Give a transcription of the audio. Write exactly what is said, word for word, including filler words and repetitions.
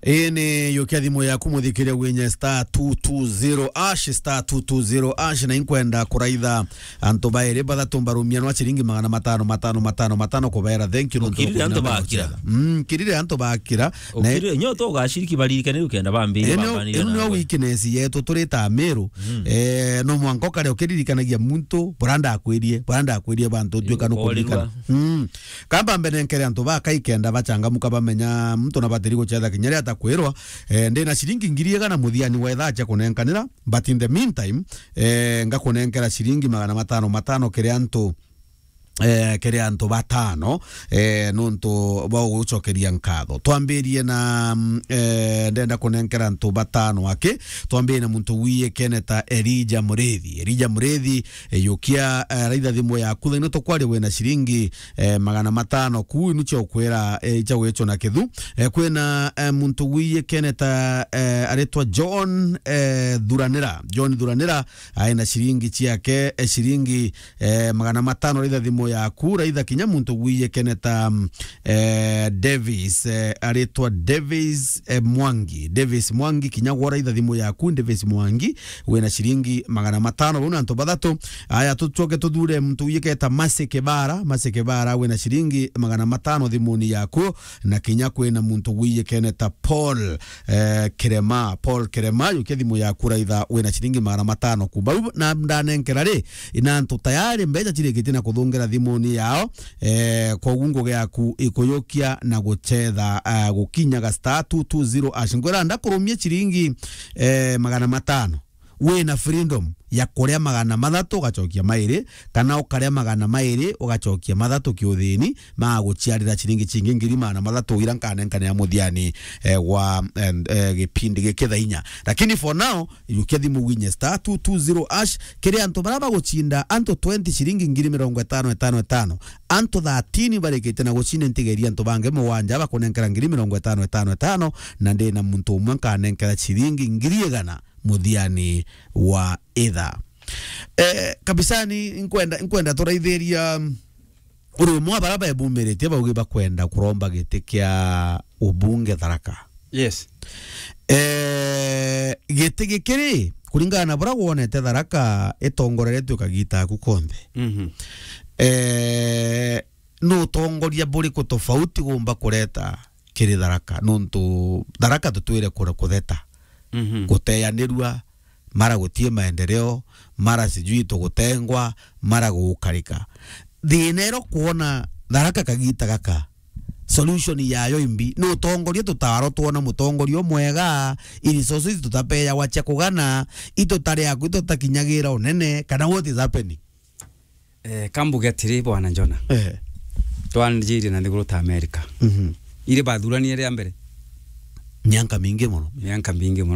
Ii ni yukia thimu yaku, muthikiria, winye star two two zero hash, star two two zero hash, na inkwenda kuraitha antu bairi bathatu mbarumia nwa ciringi magana matano, matano, matano, matano, kubaera thank you nontu wa kuthina na gucetha. Ukirire antu bakira. Mm, kirire antu bakira. Na ukirire, nyo to ugaciriki baririkane ukenda bambiri. Ino, bambani ino na nio we. Weakness yetu turi ta Meru. Mm. Eh, no mwanka ukare ukiririkanagia muntu, bora ndakwirie, bora ndakwirie bantu, utuika nukuririkana. Ukorirwa. Mm. Kamba mbere nkere antu ba kaikenda bachangamuka bamenya muntu na batiri gucetha kinya ria atakwirwa, eh, ndi na ciringi ngiri igana muthiani wa ithaa cia kunenkanira, but in the meantime, eh, ngakunenkera ciringi magana matano matano kiri antu, eh, kiri antu batano, eh, nontu bwa gucokeria nkatho. Twambirie na, mm, eh, ndenda kunenkera antu batano aki, twambirie na muntu wiyikene ta Elijah Murithi. Elijah Murithi, eh, yukia, eh, raitha thimu yaku, thaino tukwaria wina ciringi eh, magana matano. Kuu inu cia ukwira, eh, icha gwicuna kithu. Eh, kwina, eh, muntu wiyikene ta, eh, aritwa John, eh, Thuranira. John Thuranira, aina ciringi ciake, eh, ciringi, eh, magana matano. Raitha thimu yaku, raitha kinya muntu wiyikene ta, mm, eh, Davis, eh, aritwa Davis, eh, Mwangi. Davis Mwangi, kinya gwa raitha thimu yaku, Davis Mwangi, wina ciringi magana matano. Bau ni antu bathatu. Aya, tucoke tuthure muntu wiyikene ta Mercy Kibara. Mercy Kibara, wina ciringi magana matano thimuni yaku, na kinya kwina muntu wiyikene ta Paul, eh, Kirema. Paul Kirema, yukia thimu yaku raitha, wina ciringi magana matano ku. Bau na ndanenkera ri, ina antu tayari mbeca cirikitie na kuthungira thimuni yao, eh, koguo ngugi yaku ikuyukia na gucetha, eh, gukinyaga star two two zero hash. Ngwira ndakurumia ciringi, eh, magana matano. Wina freedom ya kuria magana mathatu ugacokia mairi, kana ukaria magana mairi ugacokia mathatu kiuthini, maguciarira ciringi cingi ngiri magana mathatu ira nkanenkanira muthiani, eh, wa, eh, eh, gipindi giki thaa inya. Lakini for now, yukia thimu winye star two two zero hash, kiri antu bara bagucinda antu twenty ciringi ngiri mirongo itano itano itano, antu thirteen barikite na gucinda ntigeria antu bangi mugwanja bakunenkera ngiri mirongo itano itano itano, na ndina muntu umwe nkanenkera ciringi ngiri igana muthiani wa itha. Eh, kabisani, nkwenda, nkwenda turaithiria, mm, uri umwe wa bara bebumiritie baugi bakwenda kuromba giti kia ubunge Tharaka. Yes. Eh, giti gikiri, kuringana na bura wonete Tharaka itongoreretue kagita aku konthe. Mhm. Eh, ni utongoria buriku tofauti gumba kureta kiri Tharaka? Nontu Tharaka tutwire kura kutheta, mhm, guteyanirua, mara gutie maendeleo, mara sijui tugutengwa, mara gugukarika. Thina iro kwona Tharaka kagita gaka, solution yayo imbi? Ni utongoria tutaro twona mutongoria umwega, i resources tutapeyagwa cia kugana, itutari aku itutakinyagira unene, kana what is happening? Eh, kambuge atiri, Bwana Njona. Eh. Twanjirie na nthiguru ta America. Mhm. Iri bathuranie ria mbere. Mianka mingi muno. Mianka mingi muno.